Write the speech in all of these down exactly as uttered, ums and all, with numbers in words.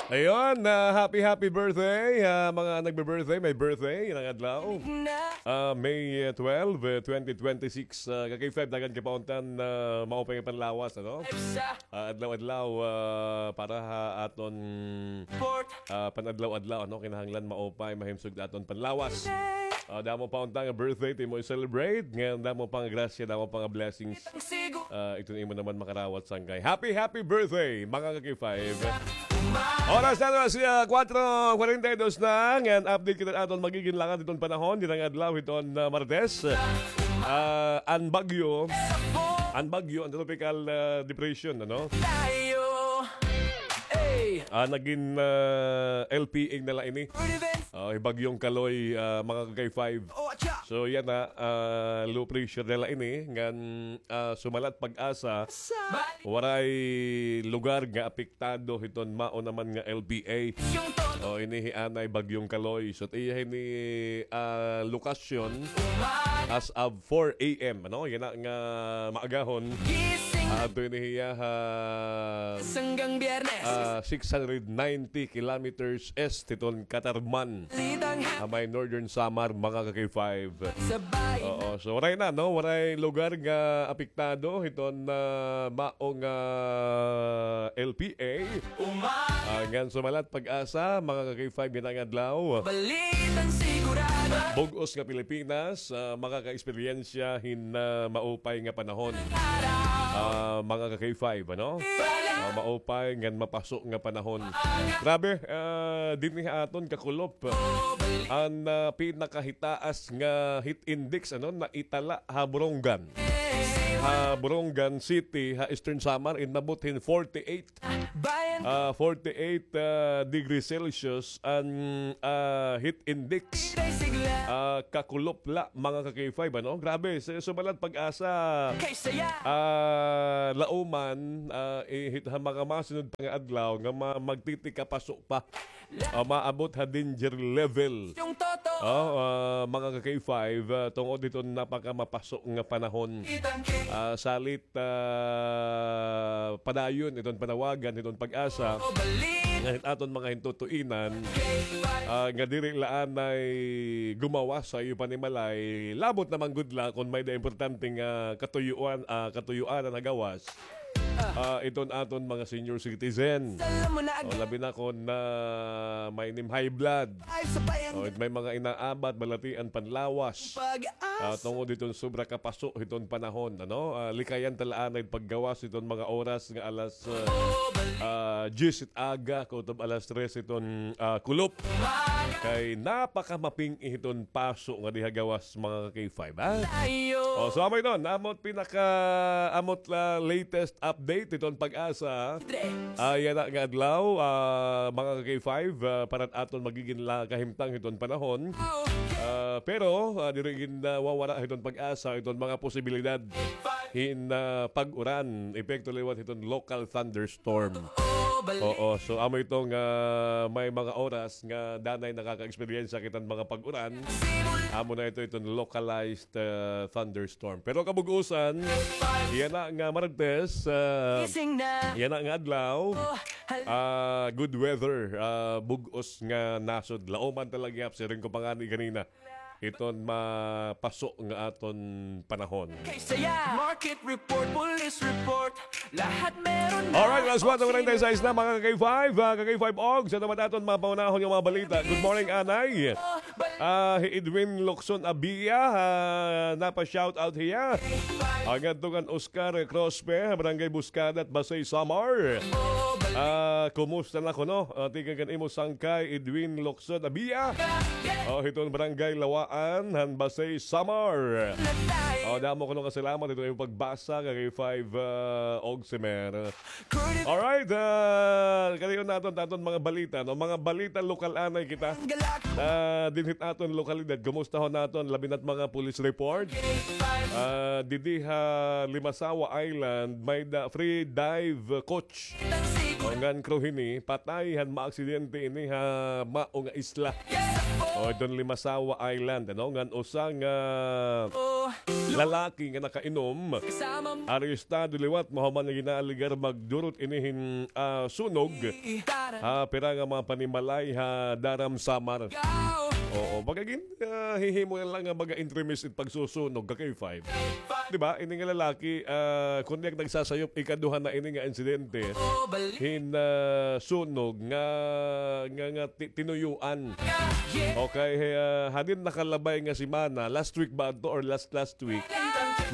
Ayun, ah, happy, happy birthday, ah, mga nagbe-birthday, may birthday, yana nga adlaw. Ah, May, eh, twelve, eh, twenty twenty-six, ah, ka-K five, daghan kay pauntan, ah, maupay nga panlawas, ano? Ah, adlaw-adlaw, ah, para ha aton, ah, panadlaw-adlaw, ano? Kinahanglan maupay, mahimsog aton panlawas. Ah, damo pa unta nga birthday, ti imo i-celebrate. Ngan damo pa nga grasya, damo pa nga blessings. Ah, iton imo naman makarawat sangkay. Happy, happy birthday, mga ka-K five. Oras na alas, ah, kwatro kwarenta y dos na. Ngan update kita aton magigin lakad hiton panahon, dinhi nga adlaw hiton, ah, Martes. Ah, an bagyo, an bagyo, an tropical, ah, depression, ano? Ah, nagin, ah, L P A na la ini. Ah, hi Bagyong Kaloy, ah, mga ka-K five. So, yana, ah, low pressure na la ini. Ngan, ah, sumalat PAGASA, waray lugar nga apektado hiton mao naman nga L P A. O, ini hi anay Bagyong Kaloy. So, iya hini, ah, lokasyon as of four A M, ano? Yana nga maagahon. Ah, adto ini hiya ha, ah, six hundred ninety kilometers east hiton Catarman, ha may Northern Samar, mga ka-K five. Oo, so waray na, no? Waray lugar nga apektado hiton, ah, mao nga L P A. Ah, ngan sumalat PAGASA, mga ka-K five, yana nga adlaw. Bug-os nga Pilipinas, ah, makaka-eksperyensya hin, ah, maupay nga panahon. Ah, mga ka-K five, ano? Ah, maupay ngan mapaso nga panahon. Grabe, ah, dinhi ha aton Kakulop. An, ah, pinakahitaas nga heat index, ano, naitala ha Borongan. Ha Borongan City, ha Eastern Samar, inabot hin forty-eight, ah, forty-eight, ah, degrees Celsius an, ah, heat index. Ah, Kakulop la, mga ka-K five, ano? Grabe, sa sumalat PAGASA, ah, lauman, ah, ihit ha mga masunod pa nga adlaw nga ma-, magtitikapaso pa. Ah, maabot ha danger level. Oh, ah, mga ka-K five, ah, tungod hiton napakamapaso nga panahon. Ah, salit, ah, padayon iton panawagan hiton PAGASA nga hit aton mga hintutuinan, ah, nga diri la anay gumawas ha iyo panimalay, labot na man gud la kon may-ada importante nga katuyuan, ah, katuyuanan ha gawas. Ah, iton aton mga senior citizen. O, labi na kon may nim high blood. O, may mga inaabat, balatian panlawas. Ah, tungod hiton sobra kapaso hiton panahon, ano? Ah, likayan ta la anay paggawas hiton mga oras nga alas, ah, ah, diyes it aga, kutob alas tres hiton, ah, kulop. Kay napakamaping-i hiton paso nga diha gawas, mga ka-K five, ha? O, so amo iton, amo it pinaka, amo it, ah, latest update hiton PAGASA. Ah, yana nga adlaw, ah, mga ka-K five, ah, para aton magigin la kahimtang hiton panahon. Ah, pero, ah, diri gin, ah, wawara hiton PAGASA iton mga posibilidad hin, ah, pag-uran, epekto liwat hiton local thunderstorm. Oo, so amo ito nga may mga oras nga danay nakaka-eksperyensya kita hin mga pag-uran. Amo na ito, iton localized, ah, thunderstorm. Pero kabug-osan, yana nga Martes, ah, yana nga adlaw, ah, good weather, ah, bug-os nga nasod. Lauman talaga, siring ko pa ngani ganina, iton mapaso nga aton panahon. Market report, police report, lahat meron na. Alright, alas kwatro kwarenta y seis na, mga ka-K five, ah, ka-K five Og, sa naman aton mga pangunahon nga mga balita. Good morning, Anay. Ah, hi Edwin Locson Abia, ah, napa-shout out hiya. Ang ngadto kan Oscar Crospe, Barangay Buscada, Basey, Samar. Ah, kumusta na kuno? Ah, tikang kan imo sangkay, Edwin Locson Abia. Oh, hiton Barangay Lawaan, han Basey, Samar. Oh, damo kuno nga salamat hiton imo pagbasa, ka-K five, ah, Og Semer. Alright, ah, kadayon naton, aton mga balita, no? Mga balita lokal anay kita. Ah, dinhi hit aton lokalidad, kumustahon naton, labi na't mga police report. Ah, didi ha Limasawa Island, may-ada free dive coach. O, ngan crew hini, patay han maaksidente ini ha mao nga isla. O, iton Limasawa Island, ano, ngan usa nga lalaki nga nakainom, arestado liwat, mahuman nga gin-aalegar magdurot ini hin, ah, sunog ha pira nga mga panimalay ha Daram, Samar. Oo, baga gin, ah, hihimo na lang nga baga entremis it pagsusunog, ka K five. Di ba? Ini nga lalaki, ah, kon diak nagsasayop, ikaduha na ini nga insidente hin, ah, sunog nga, nga, nga ti-, tinuyuan. Okay, ah, hadin nakalabay nga semana, last week ba adto or last, last week?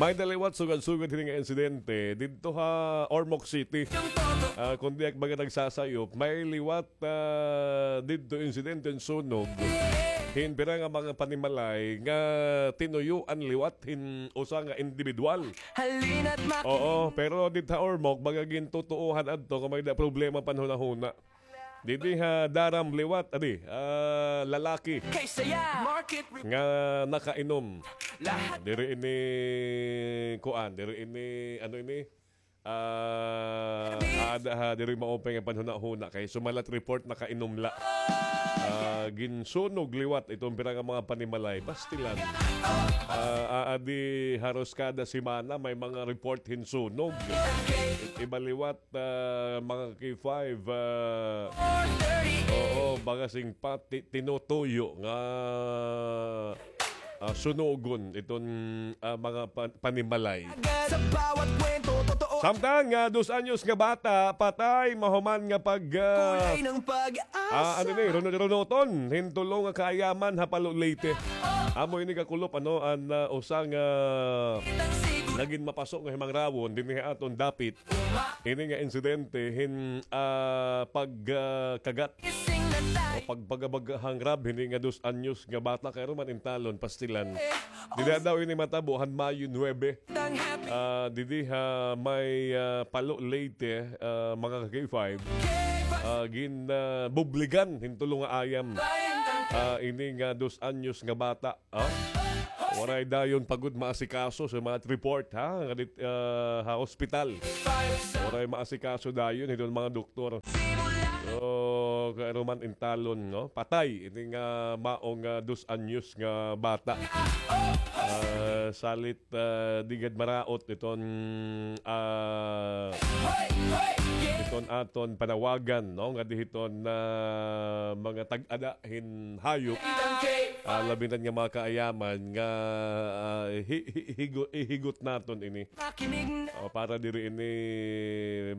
May-ada liwat sugad-sugad hini nga insidente didto ha Ormoc City. Ah, kon diak baga nagsasayop, may liwat ah, didto insidente hin sunog hin pira nga mga panimalay nga tinuyuan liwat hin usa nga indibidwal. Oo, pero didto ha Ormoc, baga gintutuohan adto kon may-ada problema panhunahuna. Didi ha Daram liwat, adi, ah, lalaki nga nakainom. Diri ini, kuan, diri ini, ano ini? Ah, aada ha, diri maupay nga panhunahuna kay sumalat report nakainom la. Ah, ginsunog liwat iton pira nga mga panimalay, pastilan. Ah, aadi haros kada semana may mga report hin sunog. Iba liwat, ah, mga K five, ah, oo, baga sing pati-, tinutuyo nga ah, sunugon iton, ah, mga pa-, panimalay. Samtang, ah, dos anyos nga bata, patay, mahuman nga pag, ah, ah, ano ni, runot-runoton hin tulo nga kaayaman ha Palo, Leyte. Amo ini kakulop, ano, an, ah, usa nga nagin mapaso nga himangrawon dinhi ha aton dapit. Ini nga insidente hin, ah, pag, ah, kagat o pagpagabag hangrab hini nga dos anyos nga bata kay ruman intalon, pastilan. Dida daw ini matabo han Mayo nuebe. Ah, didi ha may, ah, Palo, Leyte, ah, mga ka K five. Ah, gin, ah, bubligan hin tulo nga ayam. Ah, ini nga dos anyos nga bata. Ah? Waray dayon pa gud maasikaso sa mga report, ha? Nga dit-, ah, ha ospital. Waray maasikaso dayon hiton mga doktor. So, kay ruman intalon, no? Patay ini nga maong, ah, dos anyos nga bata. Ah, salit, ah, di gad maraot iton, ah, iton aton panawagan, no? Nga di hiton, ah, mga tag-ada hin hayop. Ah, labi na nga mga kaayaman nga, ah, hi-, hi-, higo-, ihigot naton ini. O, para diri ini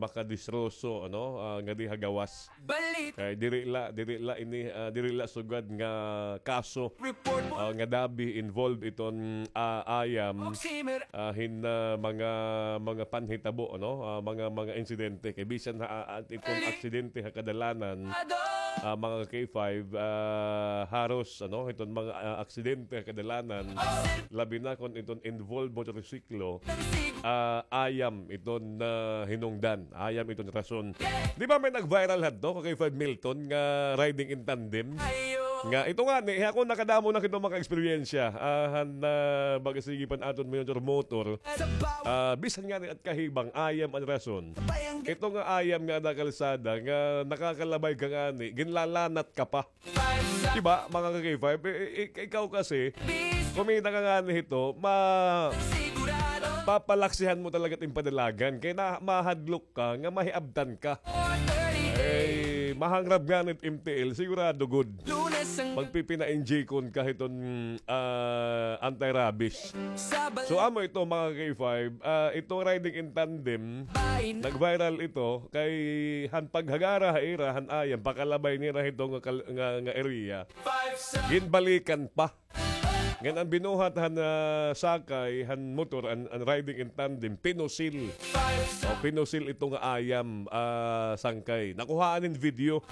makadisroso, ano, ah, ngadi ha gawas. Kay diri la, diri la ini, ah, diri la sugad nga kaso, ah, nga dabi involved iton, ah, ayam, ah, hin, ah, mga, mga panhitabo, ano, ah, mga, mga insidente. Kay bisan ha, ah, iton aksidente ha kadalanan, ah, mga ka K five, ah, haros, ano, iton mga, ah, aksidente ha kadalanan, labi na kon iton involved motorsiklo, ah, ayam iton, ah, hinungdan, ayam iton rason. Di ba may nag-viral hadto, ka K five Milton, nga riding in tandem? Nga ito ngani, ako nakadamo na kito mga eksperyensya, ah, han, ah, baga sige pa an aton motor-motor. Ah, bisan ngani at kahibang, ayam an rason. Ito nga ayam nga ada kalsada, nga nakakalabay ka ngani, ginlalanat ka pa. Di ba, mga ka K five? I-, i-, ikaw kasi, kumita ka ngani hito, ma-, papalaksihan mo talaga it im padalagan. Kay na, mahadlok ka, nga mahiabtan ka. Ay, mahangrab ngani it M T L, sigurado gud. Magpipina-injekon ka hiton, ah, anti-rabies. So, amo ito, mga ka K five, ah, itong riding in tandem, nag-viral ito, kay han paghagara ha ira, han ayam, pakalabay nira hito nga kal-, nga, nga area. Ginbalikan pa. Ngan an binuhat han, ah, sakay, han motor, an, an riding in tandem, pinusil. O, pinusil ito nga ayam, ah, sangkay. Nakuhaan hin video.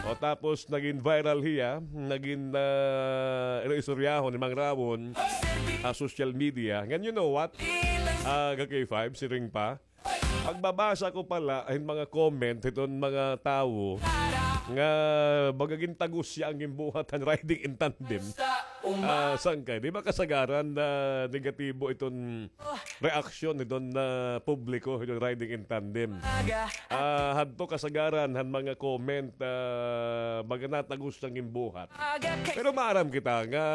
O, tapos nagin viral hiya, nagin, ah, iro istoryahon, himangrawon, ha social media. Ngan you know what? Ah, ka K five, siring pa. Pagbabasa ko pala hin mga comment hiton mga tawo nga baga gintagos hiya an ginbuhat han riding in tandem. Ah, sangkay, di ba kasagaran na negatibo iton reaksyon hiton, ah, publiko hiton riding in tandem? Ah, hadto kasagaran han mga comment, ah, baga natagos an ginbuhat. Pero maaram kita nga,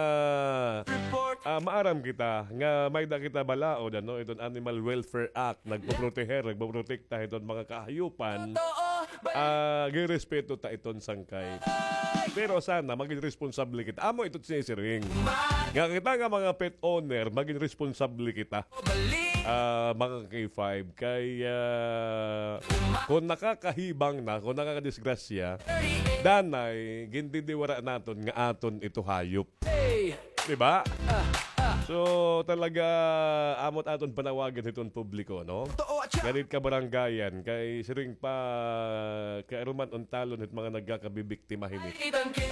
ah, maaram kita nga may-ada kita balaod, ano, iton Animal Welfare Act, nagpoproteher, nagpoprotekta hiton mga kahayupan. Ah, girespeto ta iton sangkay. Pero sana magin responsable kita. Amo ito sinisiring. Nga kita nga mga pet owner, magin responsable kita. Ah, mga K five, kay, ah, kon nakakahibang na, kon nakakadisgrasya, danay, gindidiwara naton nga aton ito hayop. Di ba? So, talaga, amo it aton panawagan hiton publiko, no? Nga didi kabarangayan, kay siring pa, kay aron man untalon hit mga nagkakabibiktima hini.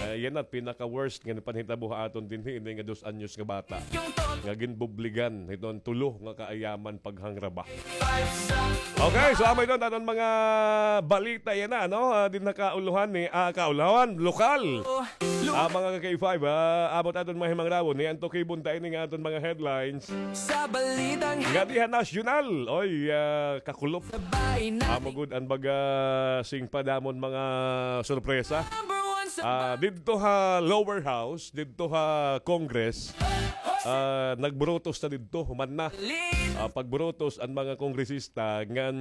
Ah, yana it pinaka-worst nga panhitabo ha aton dinhi, ini nga dos anyos nga bata nga ginbubligan hiton tulo nga kaayaman paghangraba. Okay, so amo iton aton mga balita yana, no? Ah, dinhi ha kauluhan ni, ah, kauluhan, lokal. Ah, mga ka-K five, ah, amo it aton mga himangrawon, ni antukibon ta ini nga aton mga headlines. Sa balitang nga diha nasyonal, oy, ah, kakulop. Amo gud an baga sing pa damon mga sorpresa. Ah, didto ha lower house, didto ha Congress, ah, nagburutos na didto, human na. Ah, pagburutos an mga kongresista ngan,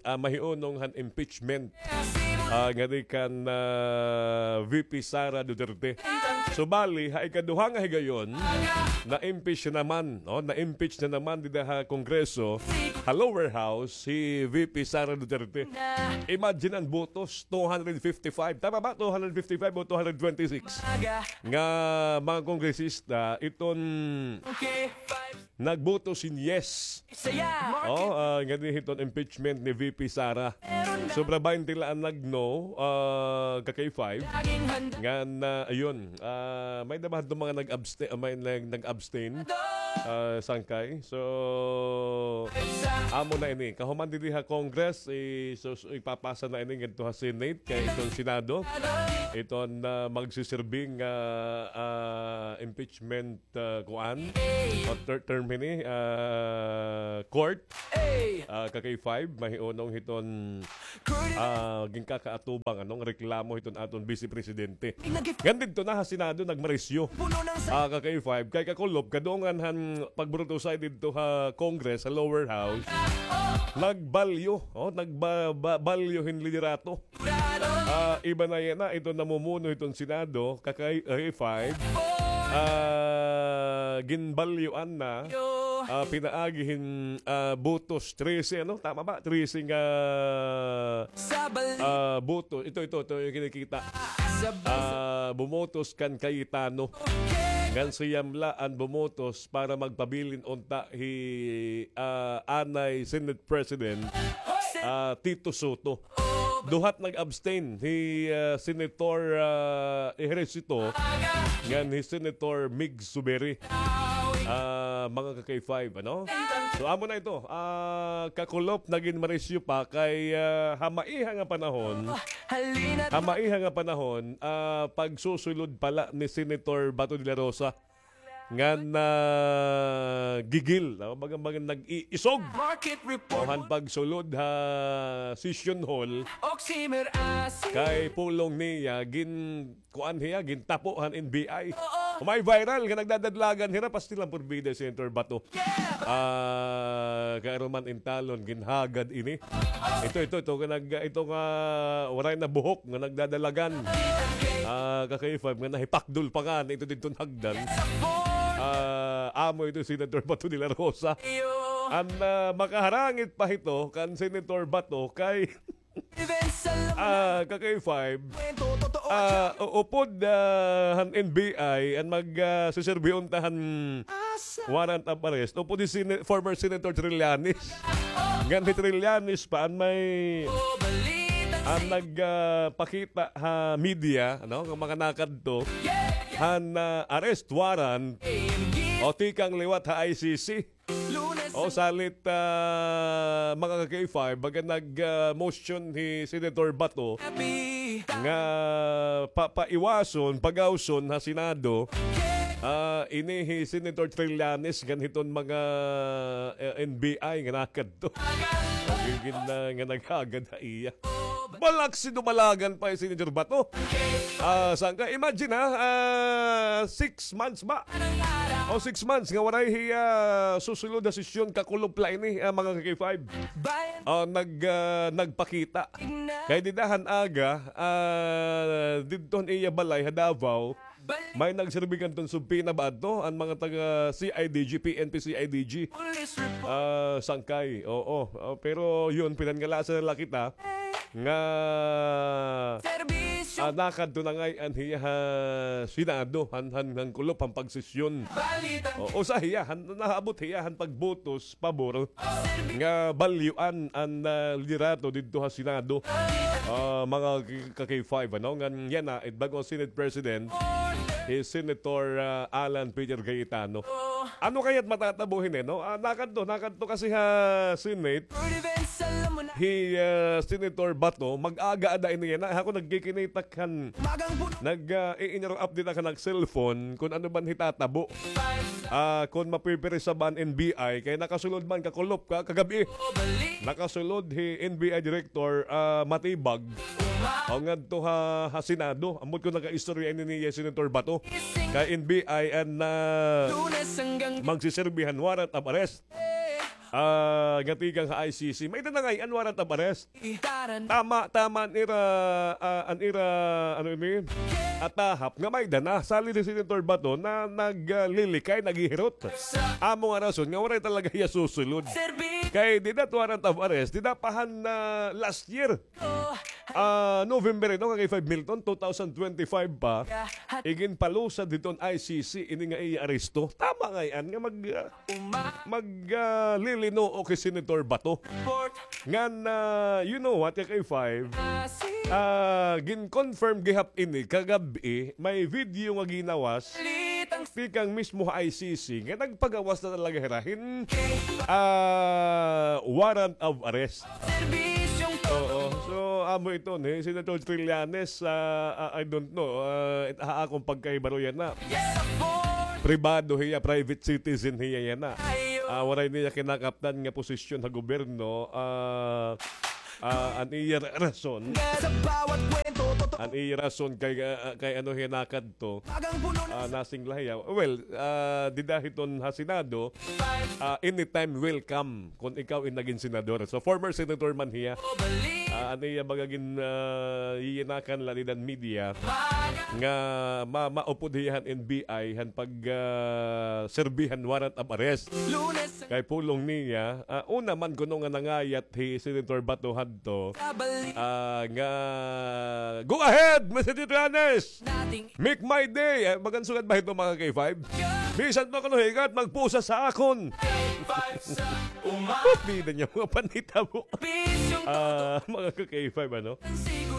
ah, mahiunong han impeachment, ah, ngadi kan, ah, V P Sara Duterte. So, bali, ha ikaduha nga higayon, na-impeach na naman, no? Na-impeach na naman dida ha Kongreso, ha lower house, si V P Sara Duterte. Imagine an botos, two hundred fifty-five. Tama ba? Two hundred fifty-five o two hundred twenty-six nga mga kongresista iton nagboto sin yes. Oh, ah, ngadi hiton impeachment ni V P Sara. Sobra baynte la an nag-no, ah, ka-K five. Ngan, ah, ayun, ah, may-ada ba hadto mga nag-abstain, ah, may nag-, nag-abstain, ah, sangkay. So, amo na ini. Kahuman didi ha Congress, i-, so, so, ipapasa na ini ngadto ha Senate, kay iton Senado. Iton, ah, magsiserbing, ah, ah, impeachment ah, kuan, o ter-, term hini, ah, court, ah, ka-K five, mahiunong hiton, ah, ginkakaatubang, ano, nga reklamo hiton aton Vice Presidente. Ngan didto na ha Senado, nagmarisyo. Ah, ka-K five, kay kakulop, kadungan han pagburutosay didto ha Congress, ha lower house, nagbalyo, oh, nagba-, ba-, balyo hin liderato. Ah, iba na yana, iton namumuno hiton Senado, ka-K five. Ah, ginbalyuan na, ah, pinaagi hin, ah, botos, trese, ano? Tama ba? Trese nga, ah, boto. Ito, ito, ito, yung kinikita. Ah, bumotos kan Cayetano. Ngan siyam la an bumotos para magpabilin unta hi, ah, anay Senate President, ah, Tito Sotto. Duha it nag-abstain, hi, ah, Senator, ah, Ejercito, ngan hi Senator Mig Zubiri. Ah, mga ka-K five, ano? So, amo na ito. Ah, kakulop, nagin marisyo pa kay, ah, ha maiha nga panahon, ha maiha nga panahon, ah, pagsusulod pala ni Senator Bato de la Rosa ngan, ah, gigil, no? Baga, baga nag-iisog. Market report. O, han pagsulod ha session hall. Oximer as kay pulong niya, gin-, kuan hiya, gintapo han N B I. Oo. May viral nga nagdadalagan hira, pastil an porbida, Senator Bato. Yeah. Ah, kay aron man intalon, ginhagad ini. Ito, ito, ito, nga nag-, ito nga, waray na buhok nga nagdadalagan. Ah, ka-K five nga nahipakdol pa ngani ito didton hagdan. Ah, amo ito Senator Bato de la Rosa. An, ah, makaharangit pa hito kan Senator Bato kay, ah, ka-K five, ah, u-, upod, ah, han N B I, an mag, ah, siserbi unta han warrant of arrest. Upod hi Sene-, former Senator Trillanes. Ngan hi Trillanes pa an may, an nag, ah, pakita ha media, ano, nga mga nakadto han, ah, arrest warrant o tikang liwat ha I C C. O, salit, ah, mga ka-K five, baga nag, ah, motion hi Senator Bato nga pa-, paiwason, pagawson ha Senado, ah, ini hi Senator Trillanes ngan hiton mga, eh, N B I nga nakadto. Gigin na nga naghagad ha iya. Balak si dumalagan pa hi Senator Bato. Ah, sangkay, imagine ha, ah, six months ba? O six months nga waray hiya susulod ha sesyon, kakulop la ini, ah, mga ka-K five. Ah, nag, ah, nagpakita. Kay dida han aga, ah, didto han iya balay ha Davao, may nagserbi kanton subpoena ba adto, an mga taga C I D G, P N P C I D G. Ah, sangkay, oo. Ah, pero yun, pinangalasan na la kita nga, ah, nakadto na ngay-an hiya ha Senado, han, han, han kulop, han pagsesyon. O, usa hiya, han, naabot hiya han pagbotos pabor nga balyuan an, ah, liderato didto ha Senado. Ah, mga ka-K five, ano? Ngan yana, it bag-o Senate President, hi Senator, ah, Alan Peter Cayetano. Ano kaya it matatabo hini, no? Ah, nakadto, nakadto kasi ha Senate, hi, ah, Senator Bato, mag-aga ada ini yana. Ako nagkikinitak han, nag, ah, i-, inyong update ako nag-cellphone kung ano ba an hitatabo. Ah, kung mapipirisa ba an N B I, kay nakasulod man, kakulop ka, kagab-i. Nakasulod hi N B I Director, ah, Matibag. O ngadto ha, ha Senado, ambot kon nakaistorya ini ni Senator Bato. Kay N B I an, ah, magsiserbi han warrant of arrest. Ah, nga tikang ha I C C. May-ada na ngay-an warrant of arrest. Tama, tama an ira, ah, an ira, ano ini? Atahap nga may-ada na. Salit hi Senator Bato na naglilikay, naghihirot. Amo nga rason nga waray talaga hiya susulod. Kay dida it warrant of arrest, dida pa han, ah, last year. Ah, November, no, kay five Milton, two thousand twenty-five pa, iginpalusad hiton I C C ini nga iya aresto. Tama ngay-an nga mag, ah, mag, ah, lilinuok hi Senator Bato. Ngan, ah, you know what, ka-K five? Ah, gin-confirm gihap ini kagab-i, may video nga ginawas tikang mismo ha I C C nga nagpagawas na talaga hira hin, ah, warrant of arrest. Oo. So, amo ito ni Senator Trillanes, ah, ah, I don't know, ah, it, ha akon pagkahibaro yana. Pribado hiya, private citizen hiya yana. Ah, waray niya kinakaptan nga posisyon ha gobyerno, ah, ah, an iya ra-, rason. An iya rason kay, ah, kay ano hiya nakadto, ah, nasingla hiya. Well, ah, dida hiton ha Senado, ah, anytime welcome kon ikaw in nagin senador. So, former senator man hiya. Ah, an iya baga gin, ah, yiyinakan la dida han media nga ma-, maupod hiya han N B I han pag, ah, serbi han warrant of arrest. Kay pulong niya, ah, una man kuno nga nangayat hi Senator Bato hadto, ah, nga, "Go ahead, Mister Trillanes! Make my day!" Eh, magan sugad ba ito, mga ka-K five? "Bisan pa kuno hikat, magpusa sa akon!" Bida niya mga panhitabo. Ah, mga ka-K five, ano?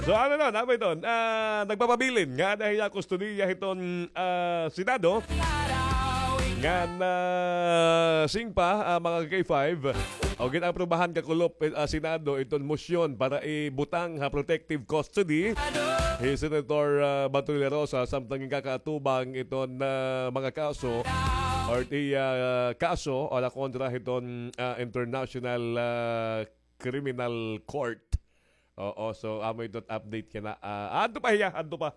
So, ano na, ano ba ito? Ah, nagpapabilin nga ada hiya kustodiya hiton, ah, Senado. Ngan, ah, singpa, ah, mga ka-K five, o gin-aprubahan kakulop, eh, ah, Senado iton mosyon para ibutang ha protective custody hi Senator, ah, Bato de la Rosa samtang ginkaatubang iton, ah, mga kaso or it iya, ah, kaso o la kontra hiton, ah, International, ah, Criminal Court. Oo, so, amo ito it update kana. Ah, adto pa hiya, adto pa.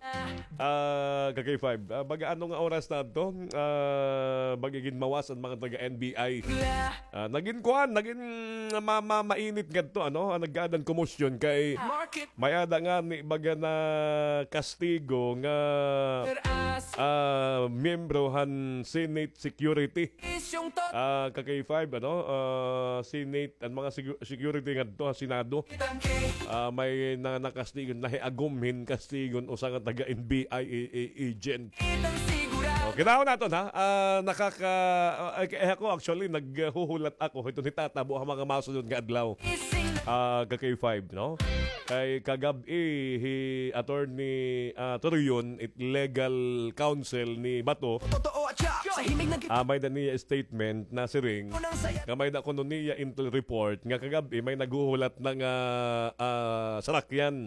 Ah, ka-K five. Ah, baga ano nga oras na adto? Ah, baga ginmawas an mga taga N B I. Ah, nagin kuan, nagin ma-, ma-, mainit ngadto, ano? Ah, nagkaada hin komosyon kay may-ada ngani baga nakastigo nga, ah, miyembro han Senate Security. Ah, ka-K five, ano? Ah, Senate, an mga secu-, security ngadto ha Senado. Ah, may na-, nakastigon, nahiagom hin kastigon usa nga taga N B I a-, a-, agent. O, kinahanglan naton, ha? Ah, nakaka-, ah, ay, ay, ako, actually, naghuhulat ako hiton hitatabo ha mga masunod nga adlaw. Ah, ka-K five, no? Kay kagab-i, hi Attorney, ah, Torion, it legal counsel ni Bato, Ah, may-ada niya statement nasiring nga may-ada kuno niya intel report nga kagab-i may naghuhulat na nga, ah, sarakyan,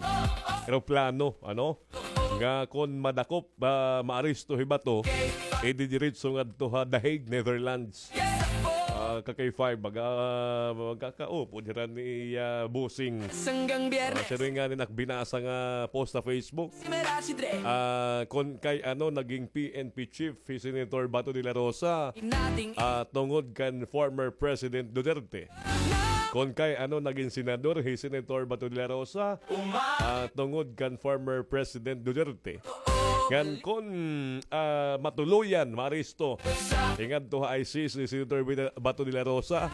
eroplano, ano, nga kon madakop, ah, maaresto hi bato, ididiretso ngadto ha The Hague, Netherlands. Ah, ka K five, baga, magkakaupod hira ni, ah, Busing. Ah, siring ngani an ak binasa nga post sa Facebook. Ah, kon kay ano, naging P N P chief hi Senator Bato de la Rosa, ah, tungod kan former President Duterte. Kon kay ano, naging senador hi Senator Bato de la Rosa, ah, tungod kan former President Duterte. Ngan kon, ah, matuloyan, maaresto, ingadto ha I C C hi Senator Bida-, Bato de la Rosa,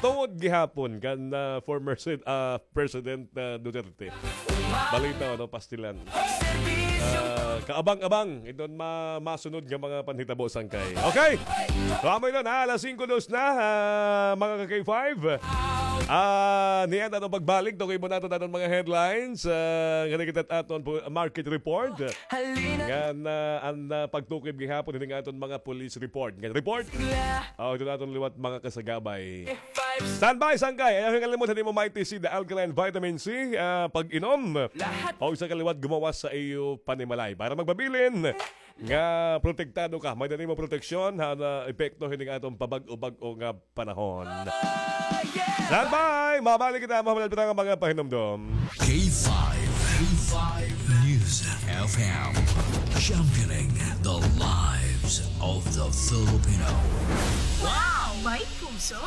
tungod gihapon kan, ah, former sen-, ah, President, ah, Duterte. Balita, ano, pastilan. Ah, kaabang-abang iton ma-, masunod nga mga panhitabo, sangkay. Okay. So, amo iton, ha, alas singko dos na, ah, mga ka K five. Ah, niyan aton pagbalik, tukoy mo naton aton mga headlines. Ah, ngani kita aton po, market report. Ngan, ah, an, ah, pagtukoy gihapon hini nga aton mga police report. Ngan report. Oh, ito na aton liwat mga kasagabay. Standby, sangkay. Ayaw kalimot, hindi mo may T C, the alkaline vitamin C, ah, pag-inom. O sa kaliwat, gumawas sa iyo panimalay. Para magpabilin nga protektado ka. May dani mo proteksyon, ha, na epekto, hindi nga atong pabag-o-bag-o nga panahon. Standby! Mabalik kita, mahulat pa nga mga pahinumdom. K five, K five News F M, championing the lives of the Filipino. Wow! May puso!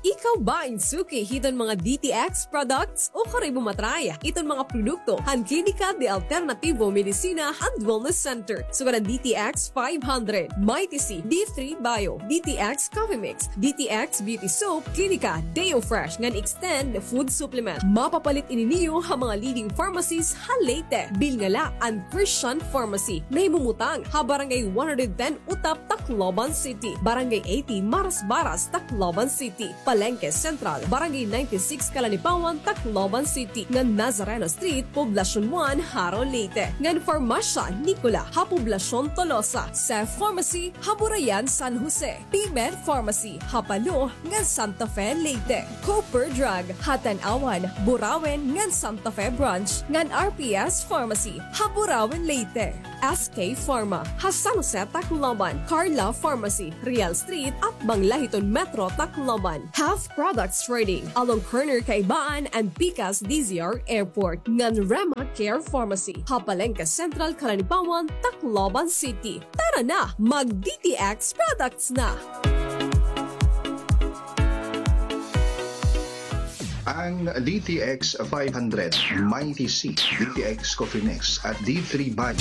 Ikaw ba in suki hiton mga D T X products? O kari mo matry iton mga produkto han Klinika de Alternativo Medicina and Wellness Center. Sugad an D T X five hundred, Mighty C, D three Bio, D T X Coffee Mix, D T X Beauty Soap, Klinika Deo Fresh, ngan Extend Food Supplement. Mapapalit ini niyo ha mga leading pharmacies ha Leyte. Bilin la an Christian Pharmacy, nahimumutang ha Barangay one hundred ten Utap, Tacloban City, Barangay eighty Marasbaras, Tacloban City, Palengke Central, Barangay ninety-six Calanipawan, Tacloban City, ngan Nazareno Street, Poblacion one, Jaro, Leyte, ngan Farmasya Nicola ha Poblacion Tolosa, Seth Pharmacy ha Burayan, San Jose, P-Med Pharmacy ha Palo ngan Santa Fe, Leyte, Cooper Drug ha Tanauan, Burauen ngan Santa Fe Branch, ngan R P S Pharmacy ha Burauen, Leyte. S K Pharma ha San Jose, Tacloban, Carla Pharmacy, Real Street, atbang la hiton Metro Tacloban. Health Products Trading along corner Kaibaan and Pikas D Z R Airport, ngan Rema Care Pharmacy ha Palengke Central, Calanipawan, Tacloban City. Tara na, mag D T X products na! Ang D T X five hundred, Mighty C, D T X Coffee Mix at D three Bio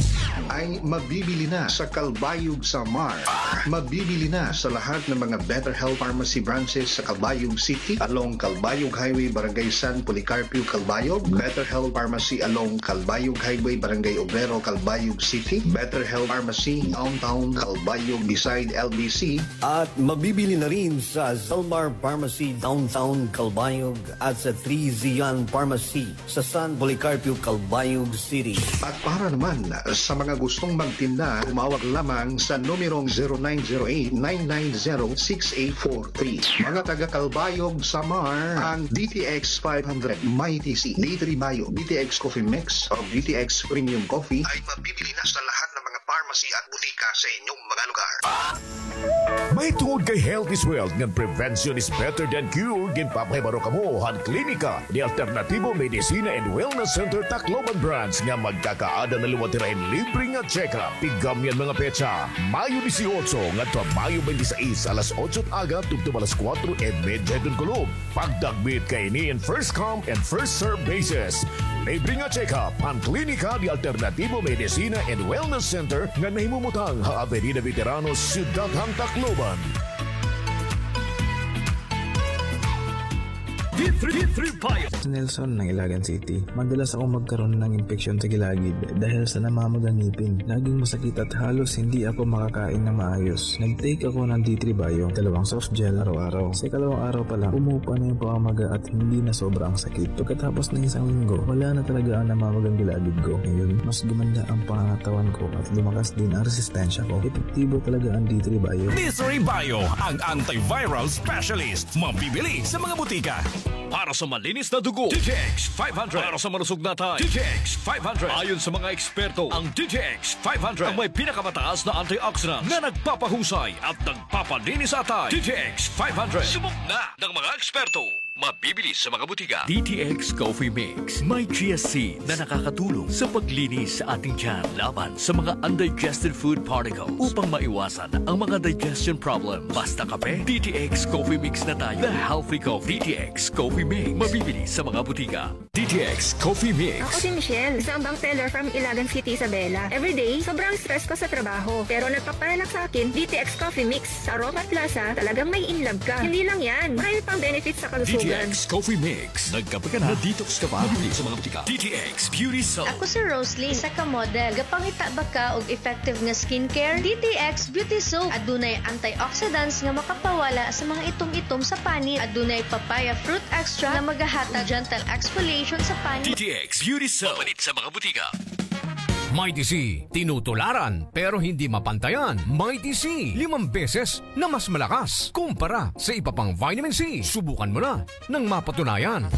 ay mabibili na sa Calbayog, Samar. Mabibili na sa lahat ng mga Better Health Pharmacy branches sa Calbayog City, along Calbayog Highway, Barangay San Policarpio, Calbayog, Better Health Pharmacy along Calbayog Highway, Barangay Obrero, Calbayog City, Better Health Pharmacy Downtown Calbayog beside L B C, at mabibili na rin sa Zalmar Pharmacy Downtown Calbayog at sa Three Zion Pharmacy sa San Policarpio, Calbayog City. At para naman sa mga gustong magtinda, tumawag lamang sa numerong zero nine zero eight, nine nine zero, six eight four three. Mga taga Calbayog, Samar, ang D T X five hundred, Mighty C, D three Bio, D T X Coffee Mix, o D T X Premium Coffee ay mabibili na sa lahat ng mga pharmacy at butika sa inyong mga lugar. Mahitungod kay health is wealth ngan prevention is better than cure, ginpapahibaro kamo han Klinika de Alternativo Medicina and Wellness Center Tacloban Branch nga magkakaada na liwat hira hin libre nga check-up. Pigam niyan mga petsa, Mayo dieciocho ngadto ha Mayo twenty-six, alas otso aga tubtob alas kuwatro y medya hiton kulop. Pagdagmit kaini in first come and first serve basis. Libre nga check-up an Klinika de Alternativo Medicina and Wellness Center nga nahimumutang ha Avenida Veteranos, Syudad han Tacloban. D three, D three Bio. Si Nelson ng Ilagan City. Madalas akong magkaroon ng impeksyon sa gilagid dahil sa namamagang ngipin. Laging masakit at halos hindi ako makakain ng maayos. Nag-take ako ng D three Bio, dalawang soft gel araw-araw. Sa ikalawang araw pa lang, umupa na yung pamamaga at hindi na sobra ang sakit. Pagkatapos ng isang linggo, wala na talaga ang namamagang gilagid ko. Ngayon, mas gumanda ang pangangatawan ko at lumakas din ang resistensya ko. Epektibo talaga ang D three Bio. D three Bio, ang antiviral specialist. Mabibili sa mga butika. Para sa malinis na dugo, D T X five hundred. Para sa malusog na atay, D T X five hundred. Ayon sa mga eksperto, ang D T X five hundred ang may pinakamataas na antioxidant na nagpapahusay at nagpapalinis sa atay. D T X five hundred. Subok na ng mga eksperto. Mabibili sa mga butika. D T X Coffee Mix. May chia seeds na nakakatulong sa paglinis sa ating tiyan laban sa mga undigested food particles upang maiwasan ang mga digestion problem. Basta kape, D T X Coffee Mix na tayo. The healthy coffee. D T X Coffee Mix. Mabibili sa mga butika. D T X Coffee Mix. Ako si Michelle, isang bank teller from Ilagan City, Isabela. Everyday, sobrang stress ko sa trabaho. Pero nagpaparelax sa akin, D T X Coffee Mix. Sa aroma at lasa, talagang ma-in-love ka. Hindi lang yan, marami pang benefits sa kalusugan. D T X Coffee Mix. Nagkape ka na, na-detox ka pa. Mabibili sa mga butika. D T X Beauty Soap. Ako si Roslyn, isa ka model. Gapangita ba ka og effective nga skincare? D T X Beauty Soap. Adunay antioxidants nga makapawala sa mga itom-itom sa panit. Adunay papaya fruit extract nga magahatag gentle exfoliation sa panit. D T X Beauty Soap. Mapalit sa mga butika. Mighty C, tinutularan pero hindi mapantayan. Mighty C, limang beses na mas malakas kumpara sa iba pang vitamin C. Subukan mo na nang mapatunayan.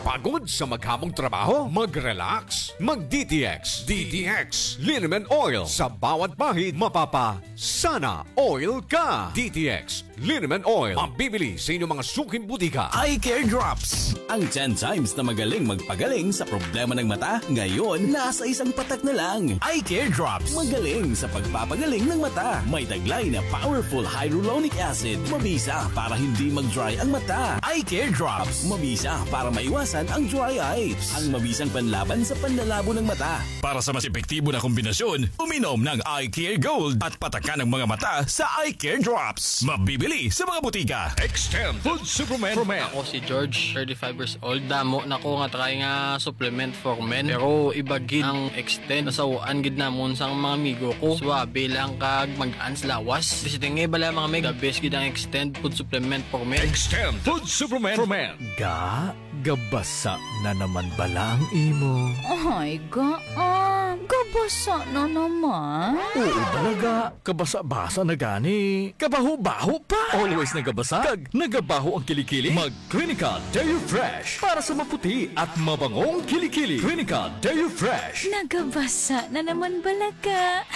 Pagod sa maghabong trabaho? Mag-relax. Mag-D T X. D T X Liniment Oil. Sa bawat pahid, mapapa-Sana Oil ka. D T X Liniment Oil. Mabibili sa inyong mga suking butika. Eye Care Drops. Ang ten times na magaling magpagaling sa problema ng mata, ngayon, nasa isang patak na lang. Eye Care Drops. Magaling sa pagpapagaling ng mata. May taglay na powerful hyaluronic acid. Mabisa para hindi mag-dry ang mata. Eye Care Drops. Mabisa para maiwasan ang dry eyes. Ang mabisang panlaban sa panlalabo ng mata. Para sa mas epektibo na kombinasyon, uminom ng Eye Care Gold at patakan ang mga mata sa Eye Care Drops. Mabibili sa mga butika. Extend Food Supplement. Ako si George, thirty-five years old. Damo na ko nga try nga supplement for men. Pero iba gid ang Extend. Nasawaan gid namon sang mga amigo ko. Suabe lang kag mag-an sa lawas. Basta nga bala mga meg, the best gid ang Extend Food Supplement for Men. Extend Food Supplement for Men. Ga, gabasa na naman bala ang imo? Ay, ga, ah, gabasa na naman? Oo, bala ga. Kabasa-basa na gani. Kabaho-baho pa. Always nagabasa kag nagabaho ang kilikili. Mag Clinica Deo Fresh para sa maputi at mabangong kilikili. Clinica Deo Fresh. Nagabasa na naman bala ga.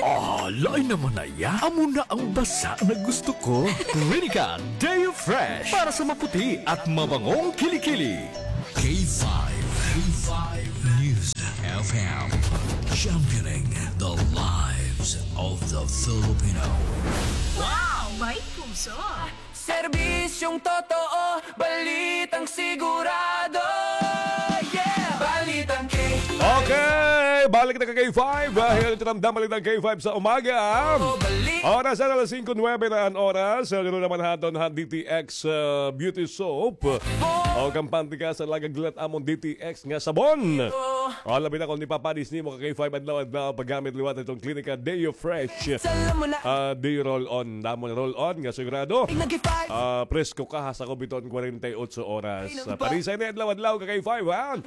Ah, lain naman na iya. Amo na ang basa na gusto ko. Clinica Deo Fresh para sa maputi at mabangong kilikili. K five, K five News F M, championing the lives of the Filipino. Wow! May puso! Serbisyong totoo, balitang sigurado. Yeah! Balitang K five. Okay, balik na ka K five. Dahil ito ang Balitang K five sa umaga. Oh, balik. Oras na alas singko nuwebe na an oras. Ganoon naman haton han D T X, uh, Beauty Soap. O, kampante ka sa lagaglat amon D T X nga sabon. O, labi na kon ipapanis nimo ka K five adlaw-adlaw paggamit liwat hiton Clinica Deo Fresh. Ah, Deo Roll On. Damo nga roll on nga sigurado. Ah, presko ka ha sakob hiton kwarenta y otso oras. Ah, panisay na adlaw-adlaw ka K five, ha?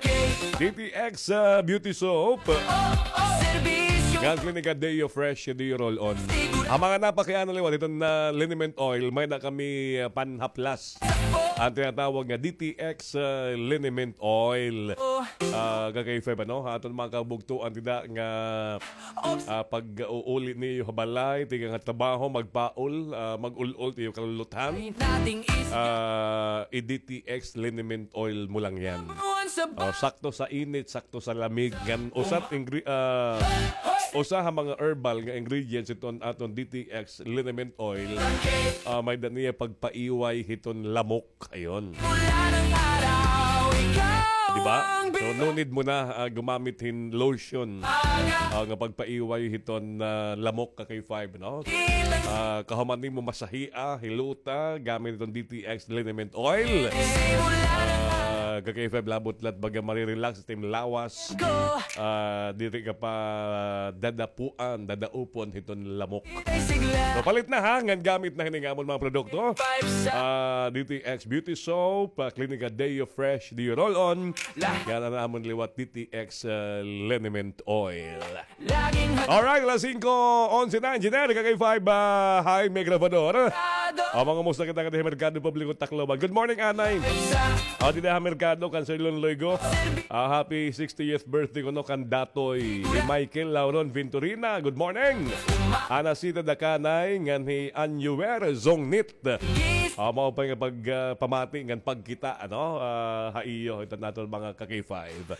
D T X, ah, Beauty Soap. Nga Clinica Deo Fresh, Deo Roll On. Ang mga napakiana liwat hiton, ah, liniment oil, may-ada kami, ah, panhaplas. An tinatawag nga D T X, ah, liniment oil. Ah, ka K five, ano? Aton mga kabugtoan dida nga, ah, pag-uuli niyo ha balay, tikang ha trabaho, magpaul, ah, mag-ul-ol tiyo kaluluthan. Ah, i-D T X liniment oil mo lang yan. Ah, sakto sa init, sakto sa lamig. Ngan usa ingre-, ah, usa ha mga herbal nga ingredients iton aton D T X liniment oil. Ah, may-ada niya pagpaiway hiton lamok. Ayun. Mula ng araw, ikaw Di ba? So, no need mo na, ah, gumamit hin lotion, ah, nga pagpaiway hiton, ah, lamok ka K five, no? Ah, kahuman nimo masahia, hilota, gamit iton D T X liniment oil. Ah, ka K five, labot la it baga marirelax it im lawas. Ah, diri ka pa dadapuan, dadaupon hiton lamok. So, palit na ha, ngan gamit na hini nga amon mga produkto. Ah, D T X Beauty Soap, ah, Clinica Deo Fresh, Deo Roll-On. Ngan an amon liwat D T X, ah, Liniment Oil. Alright, alas singko onse na, Engineer, ka K five, ah, hi, Mikrofador. Ah, mga musta kita ngadi ha Merkado Publiko, Tacloban. Good morning, Anay. Ah, dida ha Merkado, kan Sir Lon Loigo. Ah, happy sixtieth birthday kuno kan Datoy Michael Lauron Venturina. Good morning. Ana Sita Dakanay, ngan hi Anuer Zongnit. Ah, mao pa nga pag, ah, pamati ngan pagkita, ano, ah, ha iyo, iton aton mga ka K five.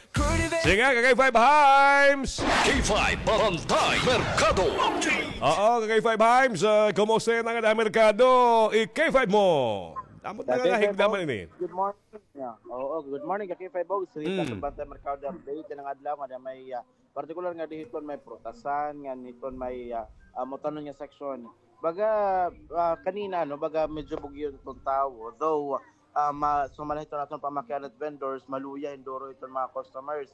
Sige, ka K five Himes! K five Barangay Merkado. Oo, ka K five Himes, ah, kumusta na ngada ha Merkado? I-K five mo. Amo na nga higda man ini. Good morning. Yeah. Oo, good morning, ka K five Bogs. Sa Barangay Merkado update, ngada adlaw, ngada may, ah, partikular ngadi hiton may prutasan, ngan hiton may, ah, ah, utanon nga section. Baga, ah, kanina, no, baga medyo bugyo iton tawo. Though, ah, ma-, sumala hiton aton pamakian it vendors, maluya hin duro iton mga customers.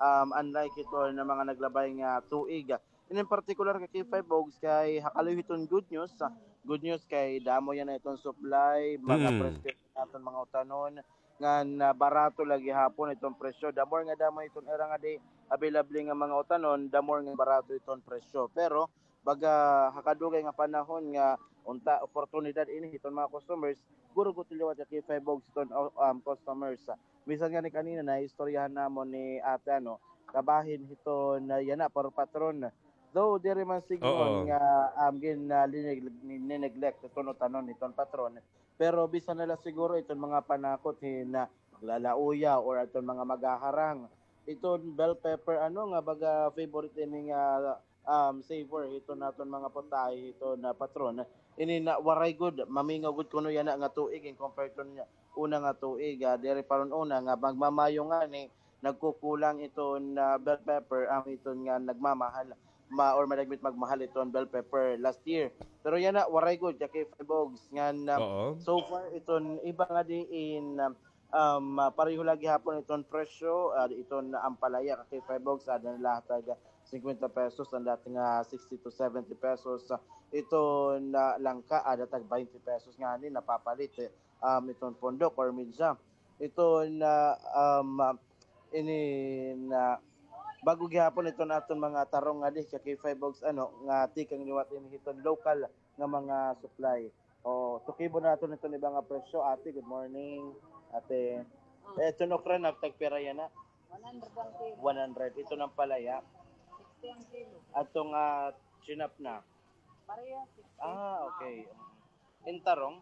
Um, unlike hiton mga naglabay nga tuig. Inin partikular ka K five Bogs kay ha kalayo hiton good news. Ah, good news kay damo yana iton supply, mga presyo aton mga utanon, ngan, ah, barato la gihapon iton presyo. The more nga damo iton ira ngadi available nga mga utanon, the more nga barato iton presyo. Pero, baga, ha kadugay nga panahon nga unta oportunidad ini hiton mga customers, guro gud liwat ka K five Bogs iton, um, customers. Bisan ngani kanina naistoryahan namon ni ate, ano, kabahin hiton, ah, yana, para patron. Though, diri man siguro nga, um, gin, ah, lineg-, ni-, ni-neglect iton utanon hiton patron. Pero bisan na la siguro iton mga panakot hin, ah, maglalauya or iton mga maghaharang. Iton bell pepper, ano, nga baga favorite ini nga, um, savor hiton aton mga putahe hiton, ah, patron. Ini na waray gud, mamingaw gud kuno yana nga tuig in compare to niya una nga tuig, ah, diri pa ron una nga magmamayo ngani, nagkukulang iton, ah, bell pepper, ang iton nga nagmamahal, ma-, or madagmit magmahal iton bell pepper last year. Pero yana, waray gud, ka K five Bogs, ngan, ah, so far, iton iba nga diin, um, ah, pareho la gihapon iton presyo, ah, iton ampalaya, ka K five Bogs, ah, ada na la ha tag singkwenta pesos, an dati nga sixty to seventy pesos, ah, iton, ah, langka, ada tag baynte pesos ngani napapalit, eh, um, iton pondok or media. Iton, ah, um, ah, ini na bag-o gihapon iton aton mga tarong ngadi, ka K five Bogs, ano, nga tikang liwat ini hiton local nga mga supply. O, tukibo naton iton iba nga presyo. Ate, good morning. Ate, eh, iton okra na, tagpira yana? One hundred ang kilo. One hundred. Iton ampalaya? Sixty ang kilo. Aton, ah, chinap na? Pareha, sixty. Ah, okay. In tarong?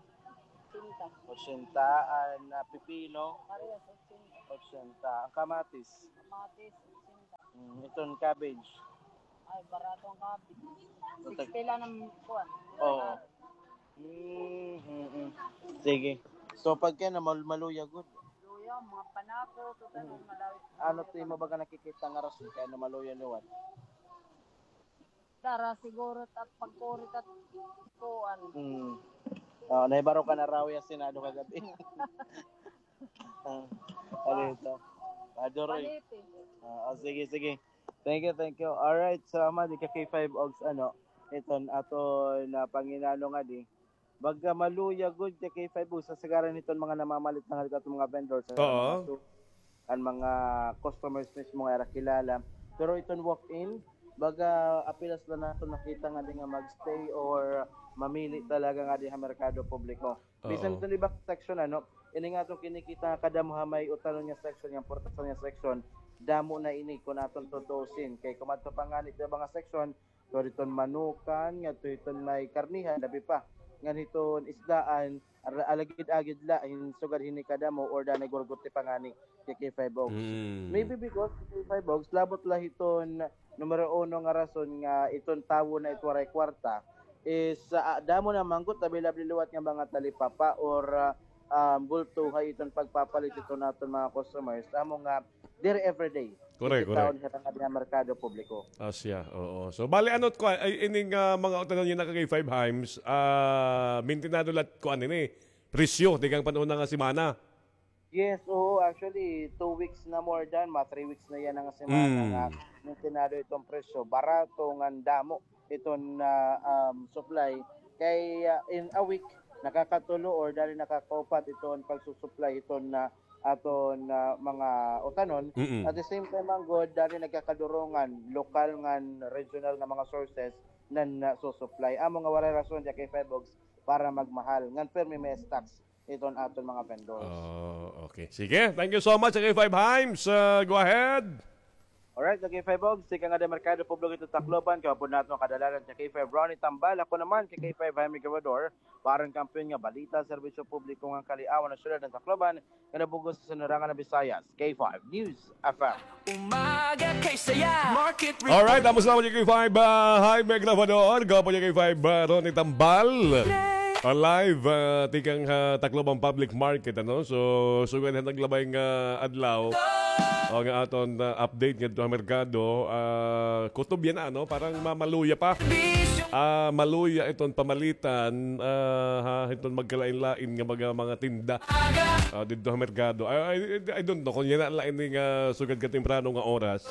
Ochenta. Ochenta. An, ah, pipino? Parehas, ochenta. Ochenta. An kamatis? Kamatis, ochenta. Mm, iton cabbage? Ay, barato an cabbage. Sixty la an kuan. Oo. Mm, mm, mm. Sige. So, pagkay na mal-, maluya gud. Luya, mga panakot, utanon, malawit. Ano it imo baga nakikita nga rason kay ano maluya liwat? Dara siguro it pagkuri it kuan. Hmm. Ah, nahibaro ka na raw ya Senado kagab-i. Ah, ano ito? Ah, Doroy. Panipi. Ah, ah, sige, sige. Thank you, thank you. Alright, salamat, ka K five Bogs, ano, iton aton, ah, panginano ngadi. Baga maluya gud ka K five Bogs, kasagaran hiton mga namamalit na nga aton mga vendors, an mga su-, an mga customers mismo nga ira kilala. Pero iton walk-in, baga apenas la naton nakita ngadi nga mag-stay or mamili talaga ngadi ha merkado publiko. Bisan iton iba section, ano, ini nga aton kinikita nga kadamo ha may utanon nga section, nga portasan nga section, damo na ini kon aton tutusin. Kay kumadto pa ngani iton iba nga section, Ngadto hiton manukan, ngadto hiton may karnihan, labi pa. Ngan hiton isdaan, ar-, alagid-agid la, hin sugad hini kadamo, or danay gurguti pa ngani, ka K five Bogs. Mm. Maybe because ka K five Bogs, labot la hiton numero uno nga rason nga iton tawo na it waray kwarta is, ah, damo na man gud, tabi-labi liwat nga mga talipapa or, ah, um, bulto ha iton pagpapalit iton aton mga customers. Amo nga, diri everyday. Correct, correct. Kita hira nga dinhi ha merkado publiko. Asya, oo. So, bali, ano, kuan, ay, ining, ah, mga utanon niyo na kay Five Himes, ah, mintinado lat kuan ini, presyo, tikang pan-una nga semana. Yes, oo. Actually, two weeks na more than, mga three weeks na yana nga semana nga mintinado iton presyo. Barato ngan damo iton, ah, um, supply. Kay, ah, in a week, nakakatulo or dali nakakaupat iton pagsusupply iton, ah, aton, ah, mga utanon. Mm-mm. At the same time, man gud, dali nagkakadurongan, lokal ngan regional nga mga sources nan, ah, susupply. Amo nga waray rason dya kay Five Ogs para magmahal. Ngan pirmi may stocks iton aton mga vendors. Oh, okay. Sige, thank you so much, K five Himes. Uh, go ahead. Alright, K five Ogs, tikang nga dinhi ha merkado publiko iton Tacloban, kay upod naton kadalaran K five Ronnie Tambal, ako naman, K five Jaime Grabador, para han kampiyon nga balita, serbisyo publiko ngan kaliawan han syudad han Tacloban, ngan han bug-os nga sinirangan han Visayas, K five News F M. Umaga kay saya. Market report. Alright, tapos na K five, ah, Jaime Grabador, gwapo niya K five, ah, Ronnie Tambal. Ah, live, ah, tikang, ah, Tacloban Public Market, ano? So, sugad han naglabay nga adlaw, o nga aton, ah, update ngadto ha merkado, ah, kutob yana, ano? Parang mamaluya pa. Ah, maluya iton pamalitan, ah, ha, iton magkalain-lain nga mga, mga tinda. Ah, didto ha merkado. I, I, I don't know kon yana la ini nga sugad katemprano nga oras.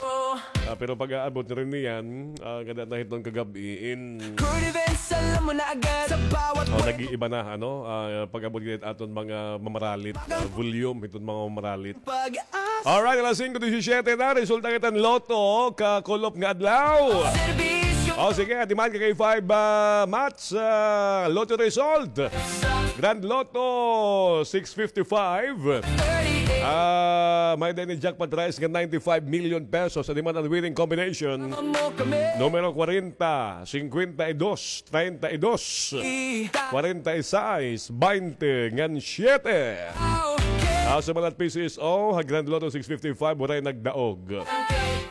Ah, pero pag-aabot rin niyan, ah, kada na hiton kagab-i in, oh, nag-iiba na, ano, ah, pag-abot gid aton mga mamaralit, ah, volume hiton mga mamaralit. Alright, alas singko disisiyete na, resulta kita han Lotto, kakulop nga adlaw. O, sige, adi man, K five, ah, Mats, ah, Lotto result. Grand Lotto, six fifty-five. Ah, may-ada ini jackpot prize nga ninety-five million pesos. Adi man an winning combination. Numero kwarenta, singkwenta y dos, treinta y dos, kwarenta y seis, baynte, ngan siyete. Ah, sa mga P C S O, ha Grand Lotto six fifty-five, waray nagdaog.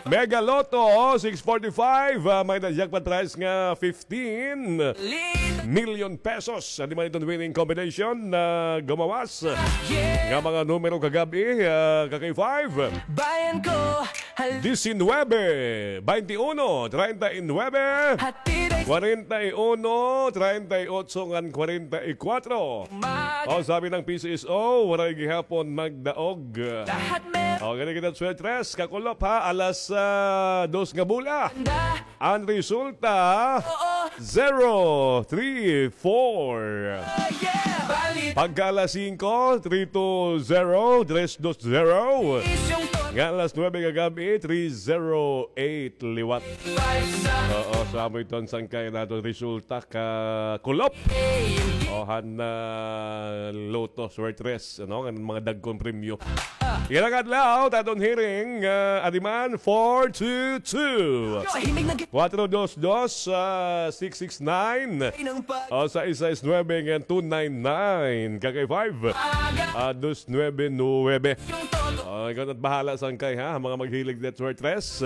Mega Lotto six forty-five, ah, may-ada jackpot prize nga fifteen million pesos. Adi man iton winning combination na gumawas nga mga numero kagab-i, ah, ka K five. Bayan ko, hal- Diecinuebe, baynte uno, treinta y nuebe, hatid ay kwarenta y uno, treinta y otso, ngan kwarenta y kuwatro. Mag- O, sabi ng P C S O, waray gihapon nagdaog. Lahat mer- O, gani kita, Swetres, kakulop, ha, alas, ah, dos nga bola. Anda. An resulta, oo, zero three four. Oh, yeah. Balit. Pagka alas singko, three two zero, tres dos zero. Isyong to- Nga alas nuebe kagab-i, three zero eight liwat. Five sa- Oo, sa amo iton sangkay naton resulta kakulop. Hey. O, han, ah, Lotto Swertres, ano, ngan mga dagkon premyo. Yana nga adlaw, ta aton hearing, ah, adi man, four two two, kuwatro dos dos, ah, six six nine. O, sais sais nuebe ngan two nine nine, ka K five. Ah, dos nuebe nuebe. O, ikaw na't bahala sangkay, ha, mga maghilig det Swertres.